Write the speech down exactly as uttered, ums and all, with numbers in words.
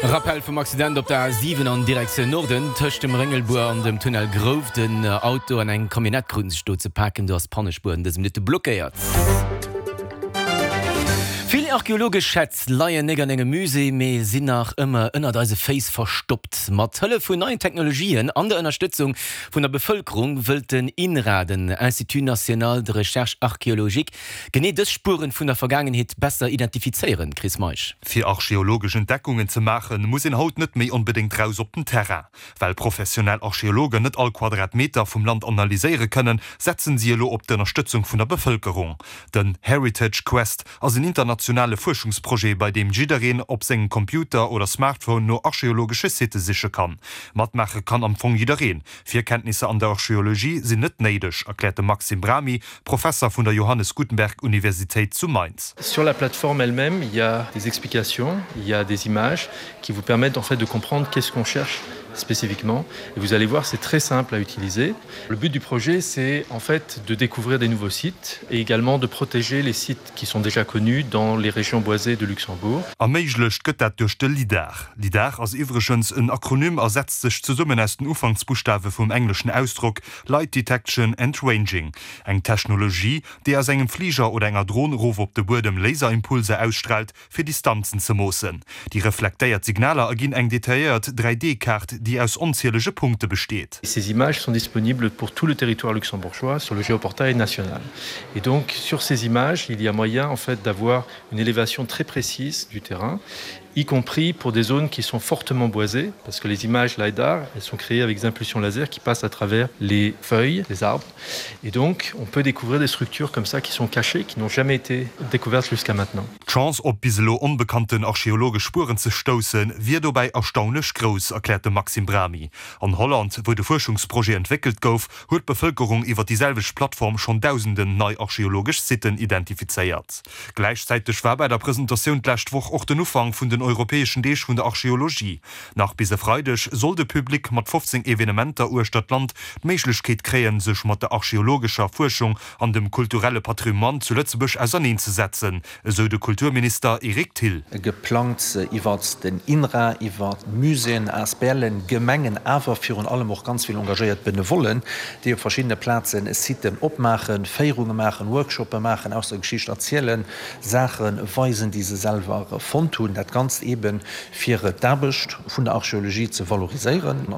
Rappel vum Accident op der A siwen an Direktioun Norden tëscht dem Réngelbuer an dem Tunnel Grouf. Den Auto an eng Camionnette kruten sech do ze paken, do ass d'Pannespuer an dëse Minutte blockéiert. Vill archeologesch Schätz leien net an engem Musée, mee sinn nach ëmmer ënnert eise Féiss verstoppt. Mat Hëllef vun neien Technologien an der Ënnerstëtzung vun der Bevëlkerung wëllt den INRA, den Institut National de Recherche Archéologique, genee dës Spueren vun der Vergaangenheet besser identifizéieren. Chris Meisch. Fir archeologesch Entdeckungen ze maachen, muss een haut net méi onbedéngt raus op den Terrain. Well professionell Archeologen net all Quadratmeter vum Land analyséiere kënnen, setzen si elo op d'Ënnerstëtzung vun der Bevëlkerung. Den Heritage Quest ass en internationale Fuerschungsprojet, bei deem jiddereen op sengem Computer oder Smartphone no archeologesche Sitte siche kann. Matmaache kann am Fong jiddereen. Virkenntnisser an der Archeologie sinn net néideg, erkläert de Maxime Brami, Professer vun der Johannes Gutenberg Universitéit zu Mainz. Sur la plateforme elle-même, il y a des explications, il y a des images qui vous permettent en fait de comprendre qu'est-ce qu'on cherche spécifiquement. Et vous allez voir, c'est très simple à utiliser. Le but du projet, c'est en fait de découvrir des nouveaux sites et également de protéger les sites qui sont déjà connus dans les régions boisées de Luxembourg. Erméiglecht gëtt dat duerch de LIDAR. LIDAR ass iwwregens en Akronym a setzt sech zesummen aus den Ufanksbuschtawe vum engleschen Ausdrock Light Detection and Ranging. Eng Technologie, déi aus engem Fliger oder enger Dron erof op de Buedem Laserimpulser ausstraalt, fir Distanzen ze moossen. Déi reflektéiert Signaler erginn eng detailléiert dräi D-Kaart, déi aus onzielege Punkte besteet. Ces images sont disponibles pour tout le territoire luxembourgeois sur le géoportail national. Et donc sur ces images, il y a moyen en fait d'avoir une élévation très précise du terrain, y compris pour des zones qui sont fortement boisées, parce que les images LiDAR, elles sont créées avec des impulsions laser qui passent à travers les feuilles des arbres. Et donc on peut découvrir des structures comme ça qui sont cachées, qui n'ont jamais été découvertes jusqu'à maintenant. D'Chance op bis elo onbekannten archeologesch Spueren ze stoussen, wier dobäi erstaunlech grouss, erkläert de Maxime Brami. An Holland, wou de Fuerschungsprojet entwéckelt gouf, huet d'Bevëlkerung iwwer déi selwecht Plattform schonn dausenden nei archeologesch Sitten identifizéiert. Gläichzäiteg war bei der Presentatioun d'lescht Woch och den Ufank vun den europäeschen Deeg vun der Archeologie. Nach bis e Freideg soll de Public mat fofzéng Evenementer uechter d'Land d'Méiglechkeet kréien, sech mat der archeologescher Fuerschung an dem kulturelle Patrimoine zu Lëtzebuerg auserneenzesetzen, esou de Kulturminister Eric Thill. Geplangt iwwert den INRA, iwwer Muséeën, Asblen, Gemengen, awer virun allem och ganz vill engagéiert Benevollen, déi op verschiddene Plazen Siten opmaachen, Féierunge maachen, Workshoppe maachen, aus der Geschicht erzielen, Saache weisen, déi se selwer fonnt hunn. Dat Ganzt eeben, fir d'Aarbecht vun der Archeologie ze valoriséieren.